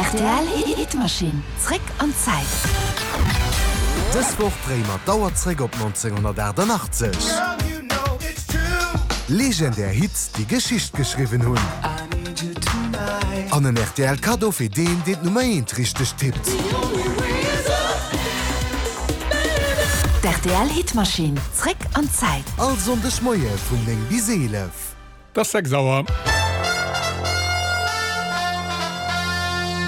Rtl Hitmaschinn, zréck an d'Zäit. Dës Woch dréie mer d'Auer zréck op 1988. Legendär Hits, déi Geschicht geschriwwen hunn. An en rtl Kaddo fir deen, deen d'Nummer eent richteg tippt. D'RTL Hitmaschinn, zréck an d'Zäit. All Sonndeg Moie vun 9 bis 11. Et ass 6 Auer.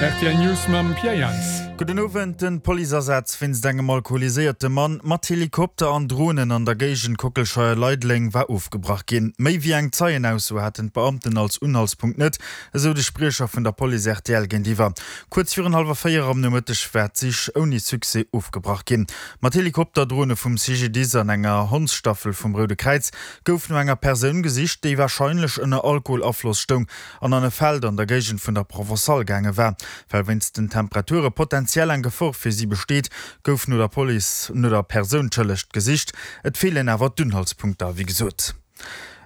Rtl News mam Pierre Jans. Gudden Owend. Den Policeasaz wéinst engem alkoholiséierte Mann mat Helikopter an Dronen an der Géigend Kockelscheier-Leideleng war ofgebrach ginn. Méi wéi eng Zeienausso haten d'Beamten als Unhaltspunkt net, esou de Spriecher vun der Police rtl géintiwwer. Kuerz virun hallwer 4 am Nomëtteg war d'Sich ouni Succès ofgebrach ginn. Mat Helikopter, Drone vum CGDIS an enger Hondsstaffel vum Roude Kräiz gouf no enger Persoun gesicht, déi warscheinlech ënner Alkoholafloss stoung an an e Feld an der Géigend vun der Provençale gaange war. Well wéinst den Temperature potenziell eng Gefor fir si besteet, gouf no der Police no der Persoun tëllecht gesicht. Et feelen awer d'Unhaltspunkter, wéi gesot.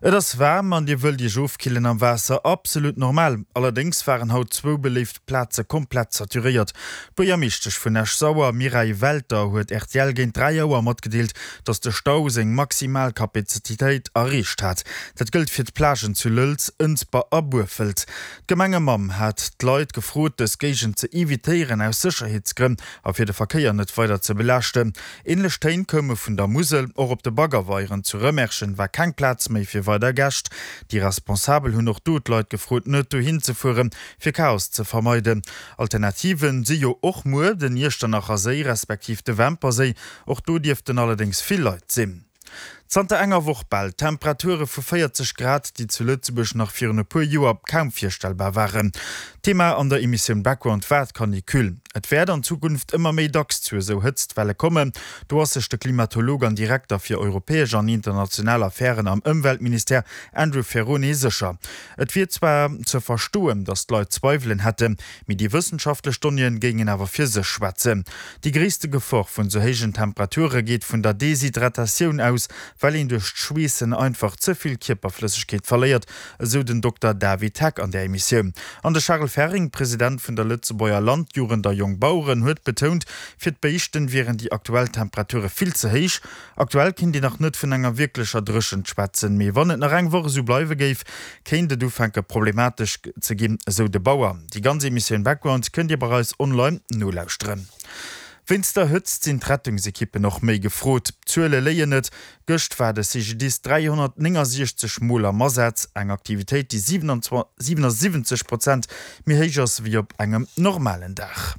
Et ass waarm an Dir wëllt Iech ofkillen am Waasser? Absolut normal! Allerdéngs waren haut zwou beléift Plaze komplett saturéiert. D'Buergermeeschtesch vun Esch-Sauer, Mireille Welter, huet rtl géint 3 Auer matgedeelt, datt de Stau seng maximal Kapazititéit erreecht hat. Dat gëllt fir d'Plagen zu Lëlz, Ënsber a Burfelt. D'Gemengemamm hat d'Leit gefrot, dës Géigend ze evitéieren aus Sécherheetsgrënn a fir de Verkéier net weider ze belaaschten. Änlech Téin koume vun der Musel. Och op de Baggerweieren zu Rëmerschen war keng Plaz méi fir weider Gäscht. Déi Responsabel hunn och do d'Leit gefrot, net dohin ze fueren, fir Chaos ze vermeiden. Alternative si jo och muer den Iechternacher Séi respektiv de Wämper Séi. Och do dierften allerdéngs vill Leit sinn. Zanter enger Woch bal Temperature vu 40 Grad, déi zu Lëtzebuerg nach virun e puer Joer kaum virstellbar waren. Thema an der Emissioun Background war d'Canicule. Et wäert an Zukunft ëmmer méi dacks zu esou Hëtztwelle kommen. Do ass sech de Klimatolog an Direkter fir europäesch an international Affären am Ëmweltministère Andrew Ferrone sécher. Et wier zwar ze verstoen, datt d'Leit Zweiwelen hätten, Mee déi wëssenschaftlech Donnéeën géingen awer fir sech schwätzen. Déi gréisste Gefor vun sou héijen Temperature geet vun der Deshydratatioun aus, well een duerch d'Schweessen einfach ze vill Kierperflëssegkeet verléiert, esou den Dokter David Heck an där Emissioun. An de Charel Ferring, President vun der Lëtzebuerger Landjugend a Jongbaueren, huet betount, fir d'Béischten wieren déi aktuell Temperature vill ze héich. Aktuell kéint een nach net vun enger wierklecher Dréchent schwätzen, mee wann et nach eng Woch esou bleiwe géif, kéint et ufänke problematesch ze ginn, esou de Bauer. Déi ganz Emissioun Background kënnt Dir bei eis online nolauschteren. Wéinst der Hëtzt sinn d'Rettungsekippen och méi gefrot. D'Zuele léien net, Gëscht war de CGDIS 369 Mol am Asaz, eng Aktivitéit, déi 77 Prozent méi héich ass wéi op engem normalen Dag.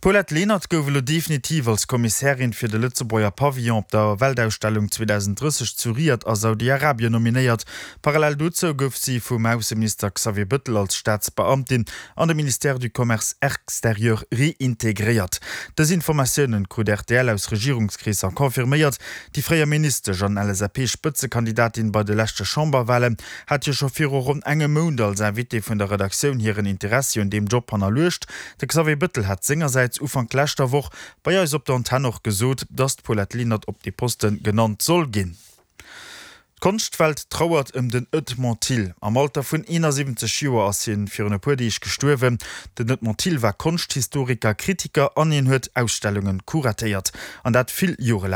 D'Paulette Lenert gouf elo definitiv als Kommissärin fir de Lëtzebuerger Pavillon op der Weltausstellung 2030 zu Riad a Saudi-Arabien nominéiert. Parallel dozou gouf si vum Ausseminister Xavier Bëttel als Staatsbeamtin an de Ministère du Commerce extérieur reintegréiert. Dës Informatiounen krut rtl aus Regierungskreesser confirméiert. Déi fréier Ministesch an LSAP-Spëtzekandidatin bei de leschte Chamberwalen hat jo scho viru ronn engem Mount als Invité vun der Redaktioun hiren Interessi un deem Job hannerluecht. De Xavier Bëttel hat sengersäits Ufank leschter Woch bei eis op der Antenn och gesot, datt d'Paulette Lenert op dee Poste genannt soll ginn. D'Konschtwelt trauert ëm den Edmond Thill. Am Alter vun 71 Joer ass hien virun e puer Deeg gestuerwen. Den Edmond Thill war Konschthistoriker, Kritiker an hien huet Ausstellunge kuratéiert, an dat vill Jore laang.